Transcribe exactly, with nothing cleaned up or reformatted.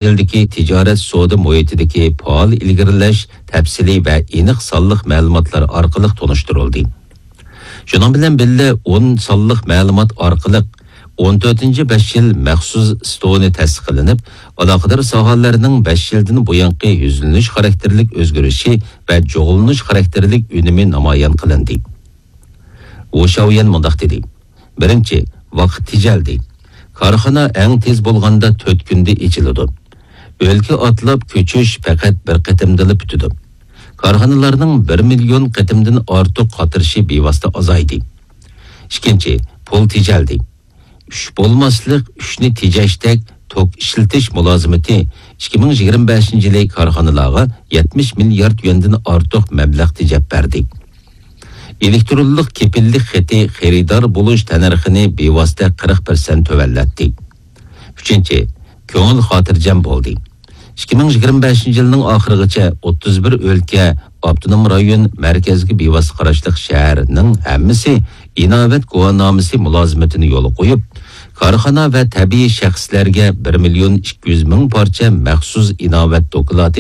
يىلدىكى تىجارەت سودا مۇھىتىدىكى پائال ئىلگىرىلەش تەپسىلىي ۋە ئېنىق سانلىق مەلۇماتلار ئارقىلىق تونۇشتۇرۇلدى. شۇنىڭ بىلەن بىللە، ئون سانلىق مەلۇمات ئارقىلىق ئون تۆتىنچى بەش يىل مەخسۇس ستونى تەسىس قىلىنىپ، ئالاقىدار ساھەلەرنىڭ بەش يىلدىن بۇيانقى يۈزلىنىش خاراكتېرلىك ئۆزگىرىشى ۋە جۇغلىنىش خاراكتېرلىك ئۈنۈمى نامايان قىلىندى. ۋۇ شاۋيەن مۇنداق دېدى: بىرىنچى، ۋاقىت تېجەلدى. كارخانا ئەڭ تېز بولغاندا تۆت كۈندە ئېچىلىدۇ. ئۆلكە ئاتلاپ كۆچۈش پەقەت بىر قېتىمدىلا پۈتىدۇ. كارخانىلارنىڭ بىر مىليون قېتىمدىن ئارتۇق قاتنىشى بىۋاسىتە ئازايدى. ئىككىنچى، پۇل تېجەلدى. ئۈچ بولماسلىق، ئۈچنى تېجەشتەك توك ئىشلىتىش مۇلازىمىتى ئىككى مىڭ يىگىرمە بەشىنچى يىلى كارخانىلارغا يەتمىش مىليارد يۈەندىن ئارتۇق مەبلەغ تېجەپ بەردى. ئېلېكترونلۇق كېپىللىك خېتى خېرىدار بولۇش تەننەرخىنى بىۋاسىتە قىرىق پىرسەنت تۆۋەنلەتتى. ئۈچىنچى، كۆڭۈل خاتىرجەم بولدى. ئىككى مىڭ يىگىرمە بەشىنچى يىلنىڭ ئاخىرىغىچە ئوتتۇز بىر ئۆلكە، ئاپتونوم رايون، مەركەزگە بىۋاسىتە قاراشلىق شەھەرنىڭ ھەممىسى ئىناۋەت گۇۋاھنامىسى مۇلازىمىتىنى يولغا قويۇپ، كارخانا ۋە تەبىئىي شەخسلەرگە بىر مىليون ئىككى يۈز مىڭ پارچە مەخسۇس ئىناۋەت دوكلاتى